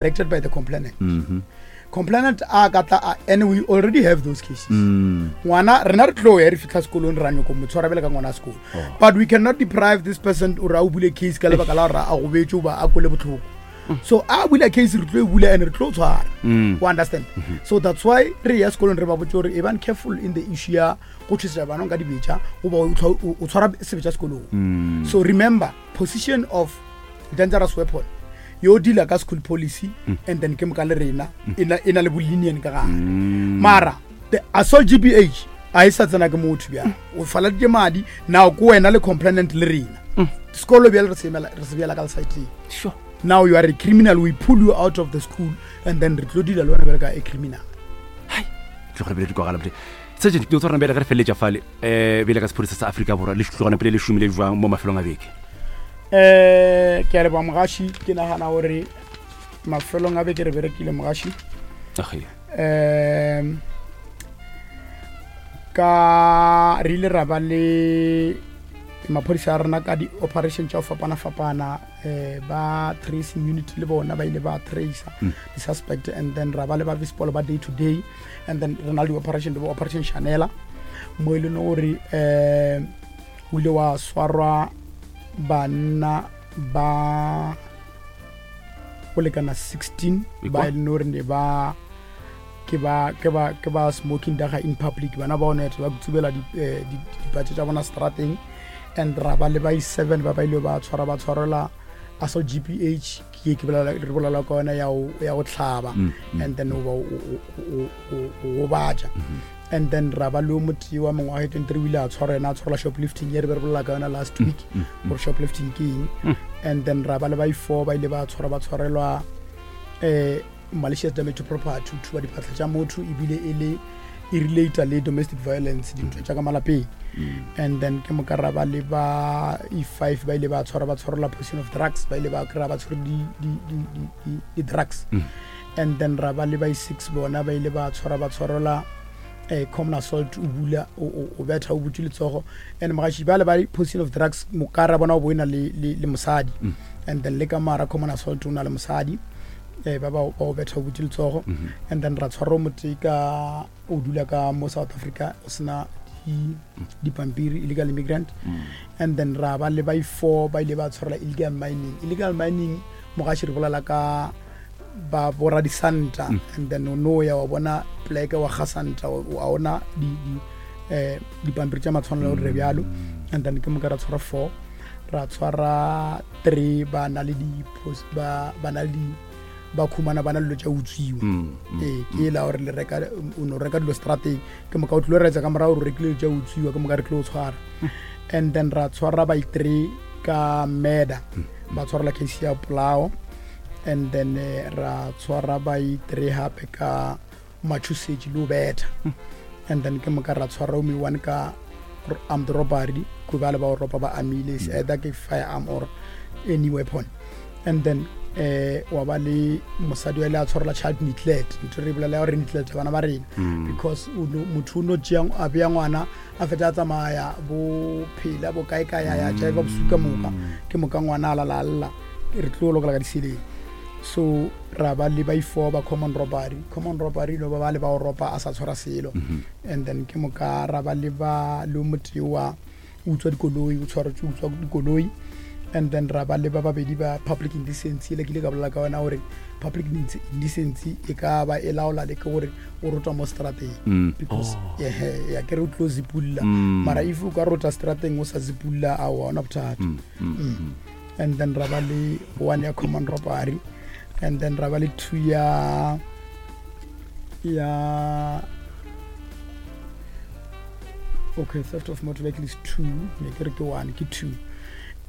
Directed by the complainant. Complainant a ka tla a, and we already have those cases. Ngwana rena re tlo ya re fitlha sekolong ra nyoko mo tshwara bjale ka ngwana sekolo. But we cannot deprive this person o re a o bule case ka lebaka la gore a gobetše goba a kwele botlhoko. So a bula case re tlo e bula and re tlo tshwara. O understand? So that's why re ya sekolong re ba botse gore e bang careful in the issue ya go tšhosetsa bana ka dibetša goba o tshwara sebetša sekolong. So remember position of dangerous weapon yo dealer ka school policy and then ke moka le rena e na- e na le bolinian ka gare mara the assault gbh a e sa tsena ke motho bjang o faladitše madi now ko wena le complainant le rena sekolo bjale re se emela- re se bjala ka lesaeteng Sure. now you are a criminal we pull you out of the school and then re tlo deala le wena bjale ka a criminal tlogele bile di kwagala bile sergeant ke tshwarana bjale ge re feleletša fale um bjale ka sephodisa sa Afrika Borwa le tlogana pele le šomile jwang mo mafelong a beke? Um ke a leboga mogaši. Ke nagana gore mafelong a beke re berekile mogaši. Um ka re ile ra ba le maphodisa a rena ka di-operation tša go fapana-fapana um ba tracing unit le bona ba ile ba tracer di-suspect and then ra ba le ba vispol ba day to day and then re na le di-operation di operation chanela mo e leng gore um o ile wa swarwa banna ba go lekana 16 ba e leng gore ne ba ke ba ke ba ke ba smoking daga in public bana ba one ba tsubela eh, dipatše tša bona strateng and ra ba le ba i7 ba ba ile ba tshwara ba tshwarela assault GPH ke ke bolela re bolela ka yona ya go ya go tlhaba and then o ba o o o gobatša and then ra ba le o motee wa mengwaga e 23 o ile a tshwarwa yena a tshwarelwa shoplifting ye re be re bolela ka yona last week gore shoplifting ke eng and then ra ba le ba i4 ba ile ba tshwarwa ba tshwarelwa eh malicious damage to property o thuba diphatlha tša motho ebile e le e relata le domestic violence dintwa tša ka malapeng and then ke moka ra ba le ba e5 ba ile ba tshwarwa ba tshwarelwa possession of drugs ba ile ba kry-a ba tshwere di-drugs and then ra ba le ba e6 bona ba ile ba tshwarwa ba tshwarelwa eh, common assault o bula o betha o butše letsogo and mogaši ba le ba possession of drugs mokara bona o bo e na le, le, le mosadi and then le ka mara common assault o na le mosadi eh, ba ba o betha o butše letsogo and then ra tshwarwa motee ka o dula ka mo South Africa o sena dipampiri illegal immigrant and then ra ba le ba i4 ba ile ba tshwarela illegal mining illegal mining mogaši re bolela ka ba bora disanta and then o no ya wa bona pleke wa ga santa a ona di di eh dipampiri tša matshwanelo gore bjalo and then ke moka ra tshwara 4 ra tshwara 3 ba na le di ba ba na le di ba khumana ba na le dilo tša utswiwa ee ke e la gore le reka o no reka dilo strateng ke moka o tlilo retsa ka morago gore o rekile dilo tša utswiwa ke moka re tlilo tshwara and then ra tshwara ba i-three ka murder ba tshwarela case ya polao and then eh, ra tshwara ba i-three gape ka matshosetši le o betha and then ke moka ra tshwara o one ka armed robbery ko ba le ba o ropa ba amile is either ke firearm or any weapon and then eh wa ba le mosadi wa ile a tshwarela child neglect ntho re bolela ya gore neglect bana ba rena because motho o no tšea a bea ngwana a fetsa a tsamaya bo phela bo kae kae a ya jive bosuka moka ke moka ngwana a lala a lla re tlo lokela ka diseleng so ra ba le ba i-four ba common robbery common robbery no ba ba le ba o ropa a sa tshwara selo and then ke moka ra ba le ba le motee wa utswa dikoloi o tshwaretswe utswa dikoloi and then ra ba le ba babedi ba public indecency le ke ile ka bolela ka yona gore public indecency e ka ba e laola le ke gore o rotwa mo strateng because ehe ya ke re o tlo zipulla mara if o ka rota strateng o sa zipulla a wa ona bothata and then ra ba le one ya common robbery and then ra ba le two ya ya okay theft of motor vehicle is two ne ke re ke one ke two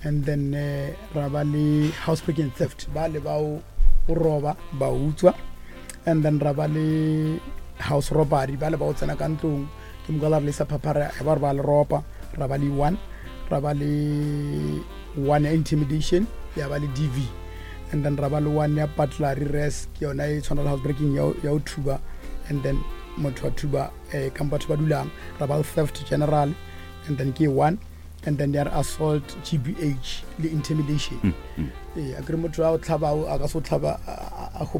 and then eh, ra ba le house breaking theft ba le ba o roba ba utswa and then ra ba le house robbery ba le ba o tsena ka ntlong ke moka la re le sa phaphara ba re ba le ropa ra ba le one ra ba le one ya intimidation ya ba le dv and then ra ba le one ya burglary res ke yona e tshwana le house breaking ya go thuba and then motho wa thuba eh, kampo batho ba dulang ra ba le theft general and then ke one and then there assault gbh le intimidation ee a kere motho a o tlhaba a ka se o tlhaba a home.